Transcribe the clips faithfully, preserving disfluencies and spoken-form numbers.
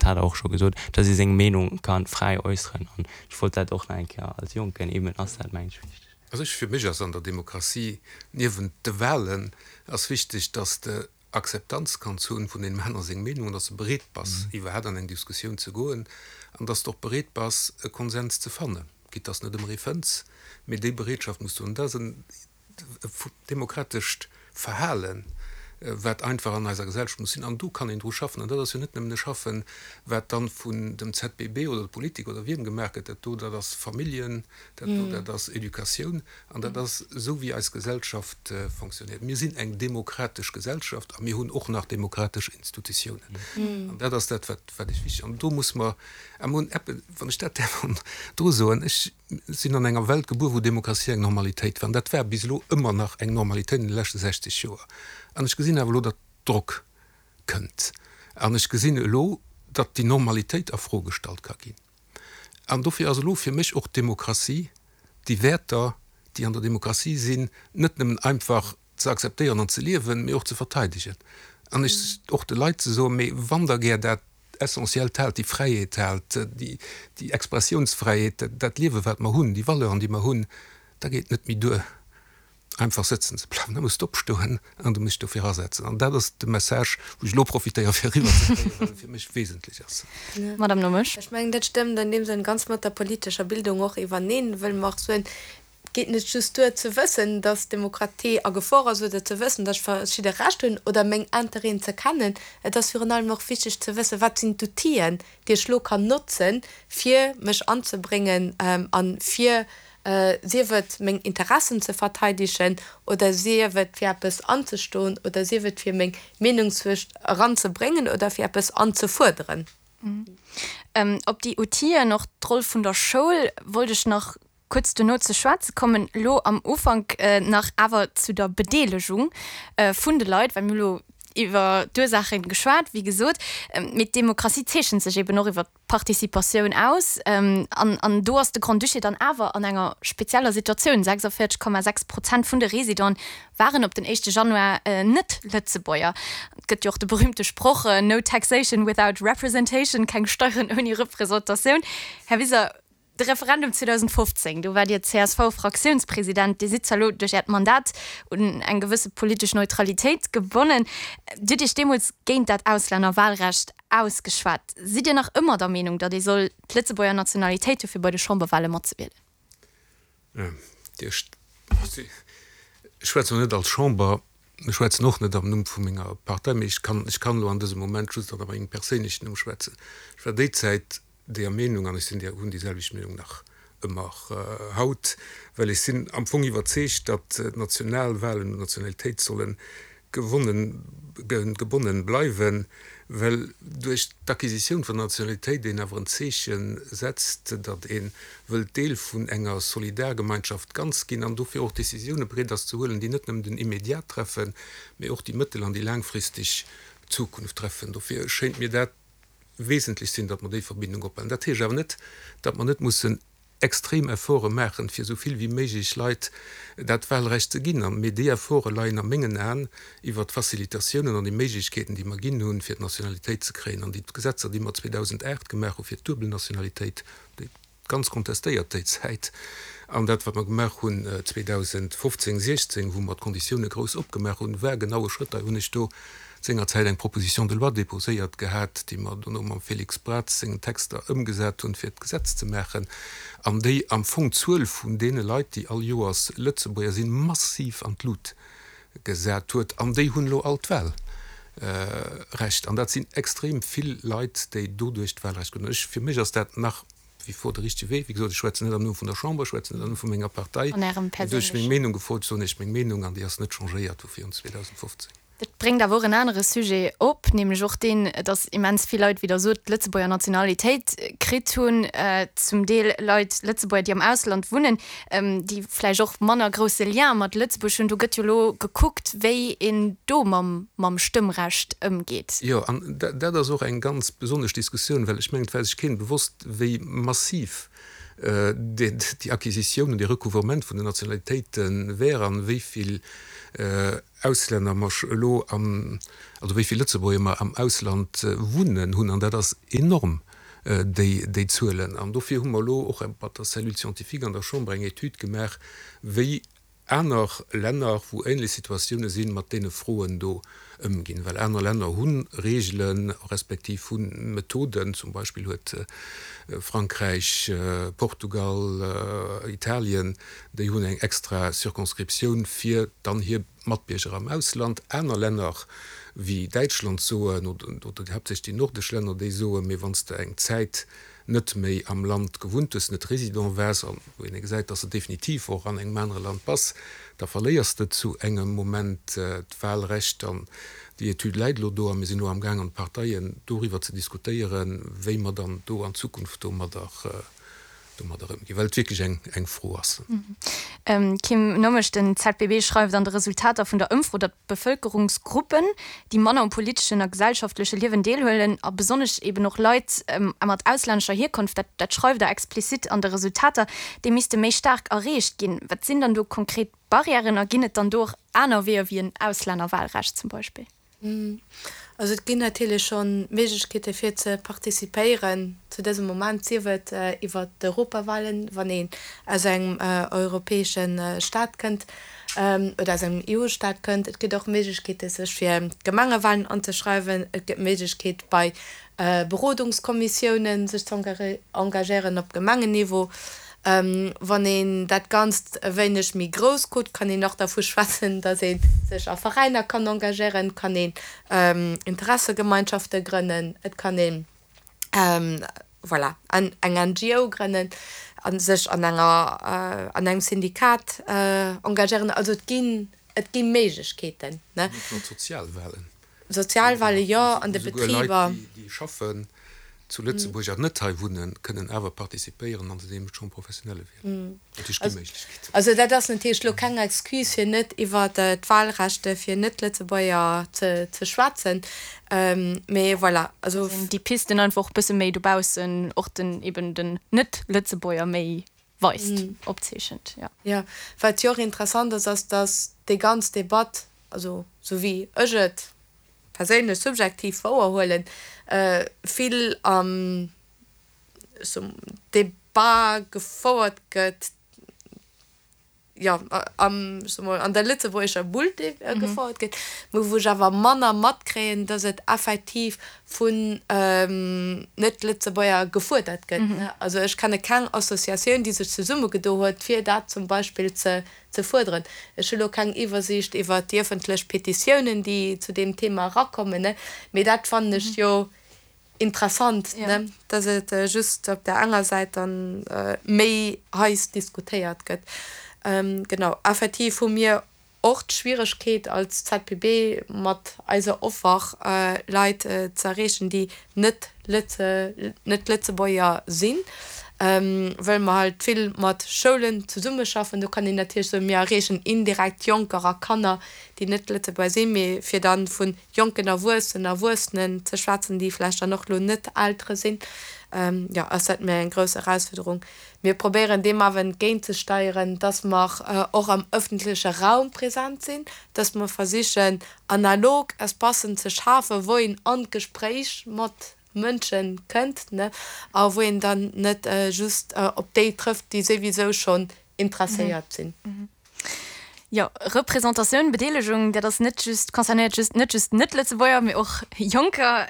hat Der och scho gesot, dass ee seng Meenung ka fräi äusseren. An ech wollt dat och nach eng Kéier als Jonken, eben ass dat, mengen ech, wichteg. Also ech, fir mech ass an der Demokratie, niewent de Wahlen, ass wichteg, dass de Akzeptanz kanns hunn vun deem aner seng Meenung an dass de bereet bass, iwwerhaapt an eng Diskussioun ze goen an dass de och bereet bass, e Konsens ze fannen, quitte dass net ëmmer ee fënns, mee déi Bereetschaft muss do hunn. Dat ass en demokratescht Verhalen, wat einfach an eiser Gesellschaft muss sinn. An do kann een dru schaffen. An dat ass jo net nëmmen e Schaffen, wat dann vun dem Z B B oder der Politik oder wiem gemaach gëtt. Dat do, dat ass Familljen, dat do, dat ass Educatioun an dat ass esou, wéi eis Gesellschaft fonctionnéiert. Mir sinn eng demokratesch Gesellschaft a mir hunn och nach demokratesch Institutiounen. An dat ass dat, wat, wat ech wichteg. An do muss mer, a mir hunn eppes, wann ech dat däerf dru soen, ech sinn an enger Welt gebuer, wou Demokratie eng Normalitéit war. An dat war bis elo ëmmer nach eng Normalitéit an de leschte sechzeg Joer. An ech gesinn awer elo, datt Drock kënnt. An ech gesinn elo, datt déi Normalitéit a Fro gestallt ka ginn. An dofir ass elo fir mech och d'Demokratie, déi Wäerter, déi an der Demokratie sinn, net nëmmen einfach ze akzeptéieren an ze liewen, mee och ze verteidegen. An ech och de Leit ze soen, mee wann Der gär dat Essentiellt haalt, déi Fräiheet haalt, déi Expressiounsfräiheet, dat Liewe wat mer hunn, déi Valeuren, déi mer hunn, da geet et net méi duer, einfach sëtzen ze bleiwen. Da muss de opstoen an du muss dech dofir asetzen. An dat ass de Message, wou ech elo profitéiere fir eriwwer ze kréien, well e fir mech wesentlech ass. Madame Nomesch. Ech mengen, dat stëmmt an deem Sënn ganz mat der politescher Bildung och iwwerneen, wëll mer och soen, Et geet net just duer ze wëssen, dass d'Demokratie a Gefor ass oder ze wëssen, dass ech verschidde Recht hunn oder meng Interêten ze kennen. Et ass virun allem och wichteg ze wëssen, wat sinn d'Outill'en, déi ech elo kann notzen, fir mech anzebréngen a fir, sief et meng Interessen ze verteidegen oder sief et fir eppes anzestoen oder sief et fir meng Meenung eranzebréngen oder fir eppes anzefuerderen. Op déi Outill'en, och d'Roll vun der Schoul, wollt ech nach kuerz dono ze schwätze kommen. Elo am Ufank nach awer zu der Bedeelegung vun de Leit, well mir hu lo iwwer d'Ursaache geschwat, wéi gesot. Mee d'Demokratie zeechent sech eben och iwwer d'Participatioun aus. An an do ass de Grand-Duché dann awer an enger spezieller Situatioun, sechsundvierzeg Komma sechs Prozent vun de Residenten waren op den éischte Januar net Lëtzebuerger. Et gëtt jo och de berühmte Sproch, No taxation without representation, keng Steieren ouni Representatioun. Här Wiseler, de Referendum zweedausendfofzéng, do waart Dir C S V-Fraktiounspresident. Dir sidd zwar elo duerch Äert Mandat un eng gewësse politesch Neutralitéit gebonnen. Dir hutt Iech deemools géint dat Auslännerwahlrecht ausgeschwat. Sidd Dir nach ëmmer der Meenung, datt ee soll d'Lëtzebuerger Nationalitéit hu fir bei de Chamberwahle matzewielen? Ech schwätzen elo net als Chamber, ech schwätzen och net am Numm vu menger Partei, mee ech kann, ech kann elo an dësem Moment just an mengem perséinlechen Numm schwätzen. Ech war déi Zäit deeër Meenung, an ech sinn déi, hunn déi selwecht Meenung nach ëmmer haut, well ech sinn am Fong iwwerzeegt, datt d'Nationalwahlen un d'Nationalitéit solle gewonnen, gebonnen bleiwen, well duerch d'Acquisitioun vun der Nationalitéit een awer en Zeeche setzt, datt ee wëllt Deel vun enger Solidargemeinschaft ganz ginn an dofir och Décisioune bereet ass ze huelen, déi net nëmmen den Immédiat treffen, mee och déi mëttel an déi laangfristeg Zukunft treffen. Dofir schéint mir dat wesentlech sinn, datt mer déi Verbindung ophalen. Dat heescht awer net, datt mer net mussen extrem Efforte maachen, fir esou vill wéi méiglech Leit dat Wahlrecht ze ginn. Mee déi Efforte leien a mengen Aen iwwert d'Facilitatiounen an déi Méiglechkeeten, déi mer ginn hunn, fir d'Nationalitéit ze kréien, an déi Gesetzer, déi mer zweedausendacht gemaach hu fir d'duebel Nationalitéit, déi ganz kontestéiert déi Zäit, an dat, wat mer gemaach hunn zweedausendfofzéng, siechzéng, wou mer d'Konditioune grouss opgemaach hunn, war genau e Schrëtt. Dei hunn ech do sengerzäit eng Proposition de loi déposéiert gehat, déi mer dono mam Félix Braz sengen Texter ëmgesat hunn, fir d'Gesetz ze maachen, an déi am Fong d'Zuel vun deene Leit, déi all Joers Lëtzebuerger sinn, massiv an d'Lut gesat huet. An déi hunn elo all d'Wahlrecht. An dat sinn extrem vill Leit, déi doduerch d'Wahlrecht kruten. Ech, fir mech ass dat nach wie vor de richtege Wee. Wéi gesot, ech schwätzen net am Numm vun der Chamber, ech schwätzen net am Numm vu menger Partei. An Ärem Mee duerch meng perséinlechen. Meenung gefrot, soen ech meng Meenung, an déi ass net changéiert vu virun zweedausendfofzéng. Dat bréngt awer och en anere Sujet op, nämlech och deen, datt immens vill Leit, wéi Der sot, d'Lëtzebuerger Nationalitéit kritt hunn, zum Deel Leit, Lëtzebuerger, déi am Ausland wunnen, déi vläicht och manner grousse Lien mat Lëtzebuerg hunn. Do gëtt jo elo gekuckt, wéi een do mam mam Stëmmrecht ëmgeet. Jo, an dat ass och eng ganz besonnesch Diskussioun, well ech mengen, et war sech keen bewosst, wéi massiv déi Acquisitioun an dee Recouvrement vun den Nationalitéite wär an wéi vill Auslänner mer elo am, also wéi vill Lëtzebuerger mer am Ausland wunnen hunn. An dat ass enorm, déi, déi Zuelen. An dofir hu mer elo och mat der Cellule scientifique an der Chamber eng Etüd gemaach, wéi aner Länner, wou ähnlech Situatioune sinn, mat deene Froen do ëmginn. Well aner Länner hu Reegelen, respektiv hu Methoden, zum Beispill huet Frankräich, Portugal, Italien, déi hunn eng extra Circonscriptioun fir dann hir Matbierger am Ausland. Aner Länner wéi Däitschland soen, oder haaptsächlech déi nordesch Länner, déi soen, mee wann s de eng Zäit net méi am Land gewunnt hues, net Résident waars, an wou een gesäit, dass de definitiv och an engem anere Land bass, da verléiers de zu engem Moment d'Wahlrecht. An déi Etüd läit elo do a mir sinn elo amgaang an de Parteien doriwwer ze diskutéieren, wéi mer dann do an Zukunft domadder domadder ëmginn, well et wierklech eng eng Fro ass. Kim Nommesch, Den Z B B schreift an de Resultater vun der Ëmfro, datt Bevëlkerungsgruppen, déi manner um politeschen a gesellschaftleche Liewen deelhuelen, a besonnesch eben och Leit mat auslännescher Hierkonft, dat dat schreift Der explizit an de Resultater, déi misste méi staark erreecht ginn. Wat sinn dann do konkret Barrièren a ginn et dann do och aner Weeër wéi en Auslännerwahlrecht zum Beispill? Also et ginn natierlech scho Méiglechkeete fir ze participéieren zu dësem Moment, sief et iwwer d'Europawahlen, wann een aus engem europäesche Staat kënnt oder aus engem E U-Staat kënnt. Et gëtt och Méiglechkeete sech fir d'Gemengewahlen anzeschreiwen. Et gëtt d'Méiglechkeet bei Berodungskommissiounen sech ze engagéieren op Gemengenniveau. Wann een dat Ganzt e wéineg méi grouss kuckt, kann een och dervu schwätzen, datt ee sech a Veräiner kann engagéieren, et kann een Interessegemeinschafte grënnen, et kann een, voilà, eng N G O grënnen a sech an enger, an engem Syndikat engagéieren. Also et ginn, et gi Méiglechkeeten, ne. Net nëmmen d'Sozialwahlen. Sozialwahlen, jo, an de Esouguer Leit, Betriber. déi schaffen zu Lëtzebuerg an net hei wunnen, kënnen awer participéieren an deem Chambre professionnelle wielen. Dat heescht, gi Méiglechkeeten. Also dat ass natierlech elo keng Excuse fir net iwwer d'Wahlrechte fir Net-Lëtzebuerger ze schwätzen, mee voilà, also. Déi Pisten einfach och bësse méi dobaussen och den eben den Net-Lëtzebuerger méi weist, opzeechent, jo. Jo, wat jo och interessant ass, ass datt déi ganz Debatt, also sou wéi ech et perséinlech subjektiv wouerhuelen, vill am Debat gefouert gëtt, jo, am, soe mol, an der lëtzebuergescher Bull gefouert gëtt, mä wou ech awer manner matkréien, dass et effektiv vun Net-Lëtzebuerger gefuerdert gëtt. Also ech kenne keng Associatioun, déi sech zesummegedo huet, fir dat zum Beispill ze ze fuerderen. Ech hu lo keng Iwwersiicht iwwert déi ëffentlech Petitiounen, déi zu deem Thema erakommen, mee dat fannen ech jo interessant, dass et just op där enger Säit dann méi heiss diskutéiert gëtt. Genau, effektiv hu mir och d'Schwieregkeet als Z P B mat eiser Offer Leit ze erreechen, déi net Net-Lëtzebuerger sinn, wëll mer halt vill mat Schoulen zesummeschaffen. Do kann een natierlech soen, mir erreechen indirekt Jonker a Kanner, déi net Lëtzebuerger sinn, mee fir dann vu jonken Erwuessenen, Erwuessenen ze schwätzen, déi vläicht dann och elo net Eltere sinn, jo, ass dat mir eng grouss Erausfuerderung. Mir probéieren deem awer entgéintzesteieren, dass mer och am ëffentleche Raum present sinn, dass mer versichen, analog Espacen ze schafen, wou een an d'Gespréich mat Mënsche kënnt, ne, a wou een dann net just op déi trëfft, déi souwisou schonn interesséiert sinn. Jo, Representatioun, Bedeelegung, dat ass net just, concernéiert just net just Net-Lëtzebuerger, mee och Jonker.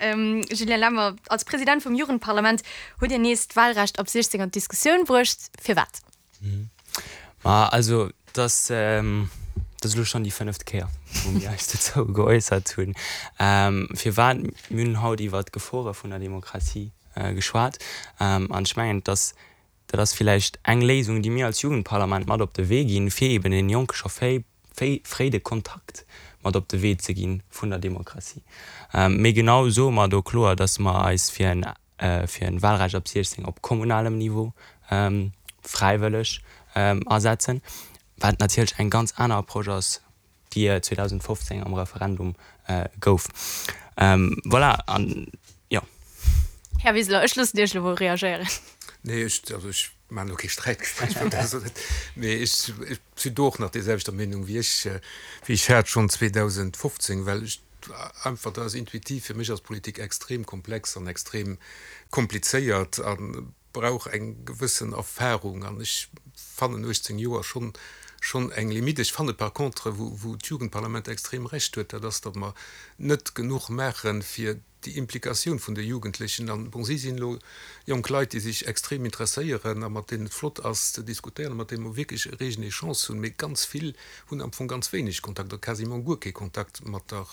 Julien Lemmer, als President vum Jugendparlament hutt Dir nees d'Wahlrecht ab siechzéng an d'Diskussioun bruecht. Firwat? Ma also, dat ass, dat ass elo schonn déi fënneft Kéier, wou mir eis dozou geäussert hunn. Firwat? Mir hunn haut iwwert d'Gefore vun der Demokratie geschwat. An ech mengen, dass dat ass villäicht eng Léisung, déi mir als Jugendparlament mat op de Wee ginn, fir eben den Jonke scho fréi, fréi de Kontakt mat op de Wee ze gi vun der Demokratie. Mee genau soe mer do kloer, dass mer eis fir en, fir en Wahlrecht ab siechzéng op kommunalem Niveau fräiwëlleg asetzen, wat natierlech eng ganz aner Approche ass, déi zweedausendfofzéng am Referendum gouf. Voilà, an jo. Här Wiseler, ech loossen Iech elo mol reagéieren. Nee, ech, also ech maachen elo kee Sträitgespréich, mee ech sinn do och nach déiselwechter Meenung wéi ech, wéi ech hat schonn zweedausendfofzéng, well ech einfach, dat ass intuitiv, fir mech ass Politik extrem komplex an extrem komplizéiert a brauch eng gewëssen Erfahrung an ech fannen uechtzéng Joer schonn, schonn eng Limite. Ech fanne par contre, wou, wou d'Jugendparlament extrem Recht huet, dat ass, datt mer net genuch maachen, fir déi Implikatioun vun de Jugendlechen, an bon, si sinn elo jonk Leit, déi sech extrem interesséieren a mat deenen et flott ass ze diskutéieren a mat deene mer wierklech e reegen Echange hunn, mee ganz vill hunn am Fong ganz wéineg Kontakt oder quasiment guer kee Kontakt mat der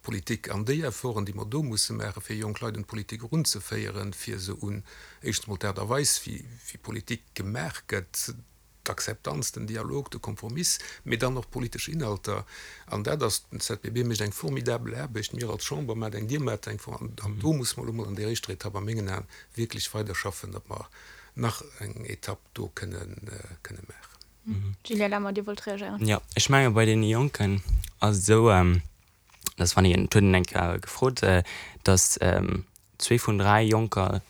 Politik. An déi Efforten, déi mer do musse maachen, fir jonk Leit un d'Politik erunzeféieren, fir se un éischtens emol d'Aart a Weis, wéi Politik gemaach gëtt, d'Akzeptanz, den Dialog, de Kompromiss, mee dann och politesch Inhalter. An dat ass, den Z B B mécht eng formidabel Aarbecht, mir als Chamber maachen eng, Dir maacht eng, an do musse mer elo mol an där éischter Etapp a mengen Aen wierklech weiderschaffen, datt mer nach eng Etapp do kënne kënne maachen. Julien Lemmer, Dir wollt reagéieren. Jo, ech menge bei deene Jonken ass et esou, dass wann een, et huet een eng Kéier gefrot, dass zwee vun dräi Jonker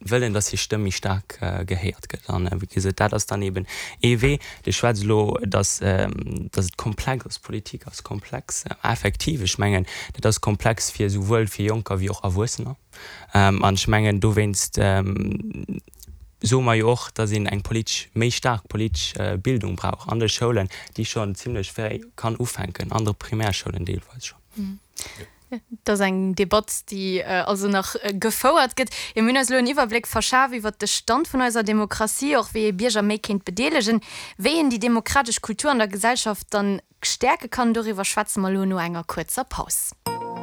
wëllen, dass hir Stëmm méi staark gehéiert gëtt. An wéi gesot, dat ass dann eben ee Wee. Dir schwätzt elo, dass, dass et komplex ass, Politik ass komplex. Effektiv, ech mengen, dat ass komplex fir esouwuel fir Jonker wéi och Erwuessener. An ech mengen, dowéinst soe mer jo och, dass een eng politesch, méi staark politesch Bildung brauch an de Schoulen, déi schonn zimlech fréi kann ufänken, an de Primärschoulen deelweis schonn. Et ass eng Debatt, déi also nach gefouert gëtt. Jo, mir hunn eis elo en Iwwerbléck verschaf iwwert de Stand vun eiser Demokratie, och wéi ee Bierger méi kéint bedeelegen. Wéi een déi demokratesch Kultur an der Gesellschaft dann stäerke kann, doriwwer schwätze mer elo no enger kuerzer Paus.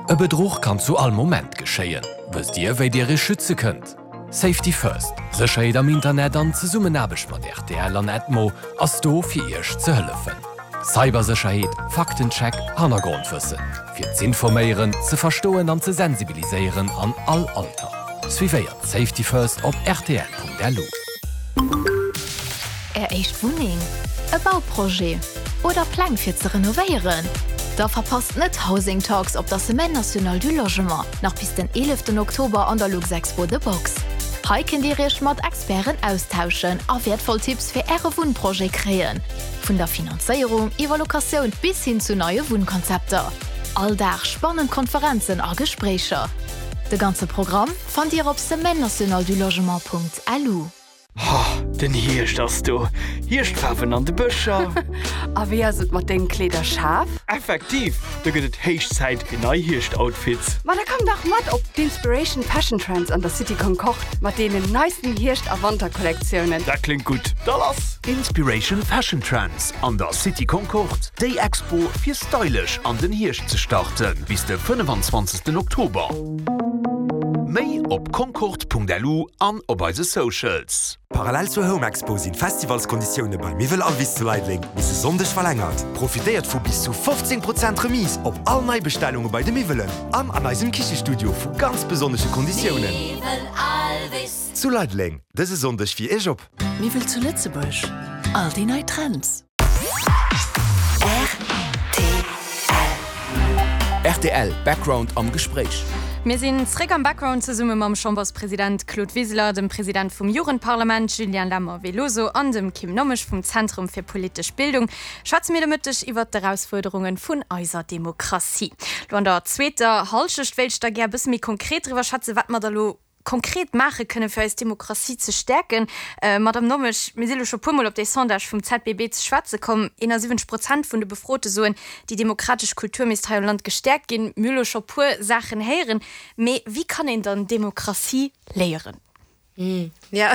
E Bedruch kann zu all Moment geschéien. Wësst Dir, wéi Dir Iech schütze kënnt? Safety First, Sécherheet am Internet an Zesummenaarbecht mat R T L an Edmo ass do fir Iech ze hëllefen. Cybersécherheet, Faktencheck, Hannergrondwëssen. Fir z'informéieren, ze verstoen an ze sensibiliséieren an all Alter. Suivéiert Safety First op R T L Punkt L U. Är éischt Wunneng, e Bauprojet oder Pläng fir ze renovéieren? Da verpasst net Housing Talks op der Semaine nationale du Logement, nach bis den eeleften Oktober an der Luxexpo The Box. Hei kënnt Dir Iech mat Experten austauschen a wäertvoll Tipps fir Äre Wunnprojet kréien. Vun der Finanzéierung iwwer Locatioun bis hin zu neie Wunnkonzepter. All Dag spannend Konferenzen a Gespréicher. De ganze Programm fannt Dir op semaine nationale du logement Punkt L U. Den Hierscht ass do. Hierschtfaarwen an de Bëscher. A wéi ass et mat dengem Kleederschaf? Effektiv, do gëtt et héich Zäit fir nei Hierschtoutfits. Ma da komm dach mat op d'Inspiration Fashion Trends an der City Concorde mat deenen neisten Hierscht a Wanterkollektiounen. Dat kléngt gutt, da lass! Inspiration Fashion Trends an der City Concorde, déi Expo fir stylesch an den Hierscht ze starten, bis de fënnefenzwanzegsten Oktober. Méi op concorde Punkt L U an op eise Socials. Parallel zur Home Expo sinn d'Festivalskonditioune bei Miwwel Alvis zu Leideleng bis e Sonndeg verlängert. Profitéiert vu bis zu fofzéng Prozent Remise op all Neibestellunge bei de Miwwelen an an eisem Kichestudio vu ganz besonnesche Konditiounen. Zu Leideleng, dëse Sonndeg fir Iech op. Miwwel zu Lëtzebuerg, all déi nei Trends. R T L Background am Gespréich. Mir sinn zréck am Background zesumme mam Chamberspresident Claude Wiseler, dem President vum Jugendparlament Julien Lemmer Veloso an dem Kim Nommesch vum Zentrum fir politesch Bildung schwätze mir de Mëtteg iwwer d'Erausfuerderunge vun eiser Demokratie. Lo an der zweeter Hallschecht wéilt ech da gär e bësse méi konkret driwwer schwätzen, wat mer da lo konkret maache kënne fir eis Demokratie ze stäerken. Madame Nommesch, mir si lo scho puermol op dee Sondage vum Z B B ze schwätze komm. eenasiwwenzeg Prozent vun de Befrote soen, déi demokratesch Kultur misst hei am Land gestäerkt ginn. Mir hu lo scho puer Saachen héieren. Mee wéi kann een dann Demokratie léieren? Jo,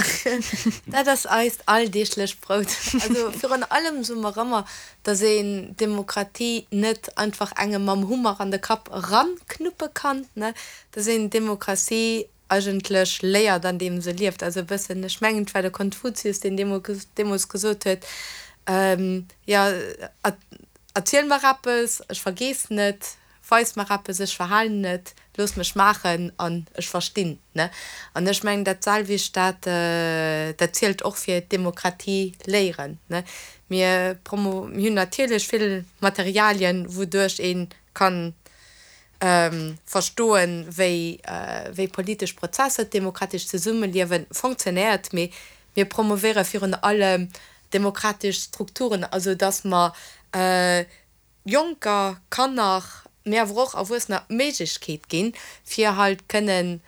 dat ass eist alldeeglecht Brout. Also virun allem soe mer ëmmer, dass een Demokratie net einfach engem mam Hummer an de Kapp eranknuppe kann, ne, dass een Demokratie eigentlech léiert andeem se lieft. Also e bëssen, ech mengen et war de Konfuzius, deen deemools gesot huet, jo, erziel mer eppes, ech vergeessen et, weis mer eppes, ech verhalen et, looss mech maachen an ech verstinn, ne. An ech mengen dat selwecht, dat dat zielt och fir d'Demokratie léieren, ne. Mir promo, mir hunn natierlech vill Materialien, wouduerch ee kann verstoen, wéi wéi politesch Prozesser, d'demokratescht Zesummeliewe fonctionnéiert, mee Mir promovéiere virun allem demokratesch Strukturen, also dass mer Jonker, Kanner, mee awer och Erwuessener d'Méiglechkeet ginn, fir halt kënnen